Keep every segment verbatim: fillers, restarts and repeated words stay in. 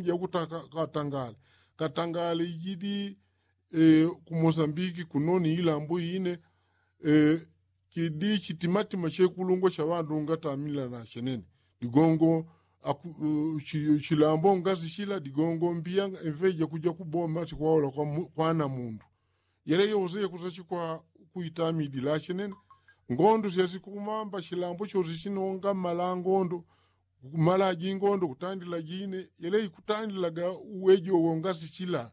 Jakuta katangale katangale ijidi ku mosambiki kunoni ilambo ine. Kidi chitimatima chekulungwa cha ŵandu ngatamila na chenene digongo chilambo ngasi chila digongo mbiya emveja kuja kuboma tikwaola kwa namundu. Yele yose yakusachikwa kuitamidila chenene. Ngondo syasikumamba chilambo chose chinonga mala ngondo kumala jingondo kutandila jine yele ikutandilaga uwejo wongasi chila.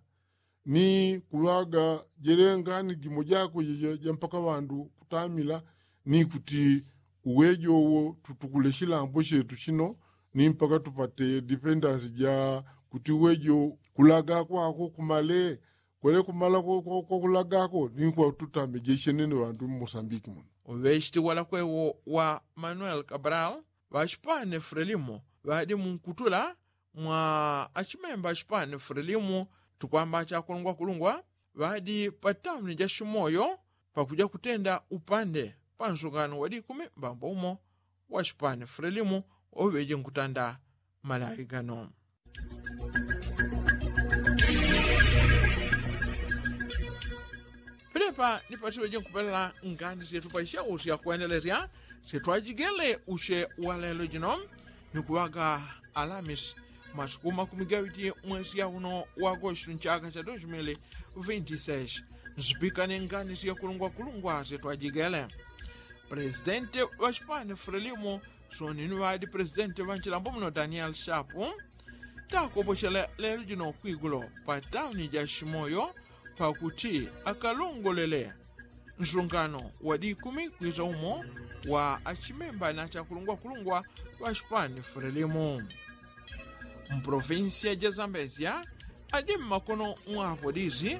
Ni kuŵaga jele ngani jimo jako jampaka ŵandu kutamila ni kuti uwejo wo tutukule chilambo chetu chino ni mpaka tupate dipendansi ja kuti uwejo kulaga kwako kumale kwele kumala kwakulagako ni kwatutamije chenene ŵandu mmosambiki muno. Uŵechiti walakwewo wa manuel kabral ŵachipane frelimo ŵadi munkutula mwa achimemba achipani frelimu tukwamba achakulungwakulungwa ŵadi pa tauni ja shimoyo pakuja kutenda upande pa nsungano wa dikumi mbambo umo wa chipani frelimu wauŵeje nkutanda malawi gano. Penepa nipatiŵeje nkupelela ngani syetu pa isheusya kwendelesya syetwajigele usye wa lelo jino ni kuŵaga alamisi masiku makumi gawiti mwesi ya uno wa agostu nchaka cha dos mili vinti seis. Nsipika ni ngani syakulungwakulungwa syetwajigele. Presidenti wa chipani frelimu soni ni ŵadi presidenti ŵa nchilambo muno daniel shapu takopochela lelo jino kwigulo pa tauni ja shimoyo pakuti akalongolele nsungano wa dikumi kwisa umo wa achimemba na achakulungwakulungwa ŵa chipani frelimu. Mprovinsiya ja zambezia adi mmakono mwa apolisi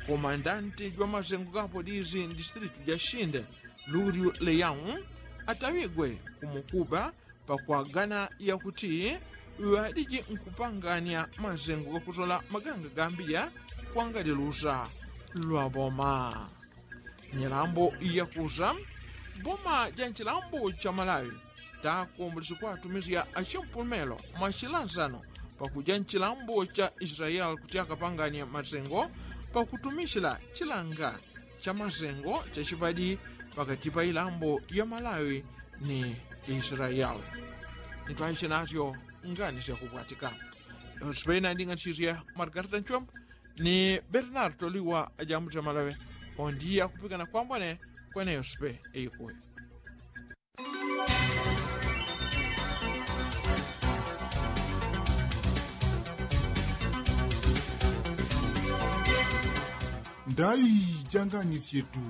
komandanti jwa masengo ga apolisi mdistritu ja shinde luryu leyau ataŵigwe kumukuba pakwagana yakuti ŵadiji nkupangania masengo gakusola maganga gambiya kwangadilusa lwa boma. Nyilambo yakusa boma ja nchilambo cha malawi takombolesi kwatumisya achimpulumelo mwa chilansano pakuja nchilambo cha israeli kuti akapangania masengo pakutumisila chilanga cha masengo cha chipadi pakati pa ilambo ya malawi ni israeli. Nitwaisye nasyo ngani syakupwatika. Yosipena nding'anisisye margarita nchwembo ni bernardo liwa ajambulisya malawi. Ondi akupikana kwambone kwene yosipe eikuyo. Ndai ja ngani syetu.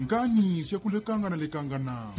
Ngani syakulekangana lekangana.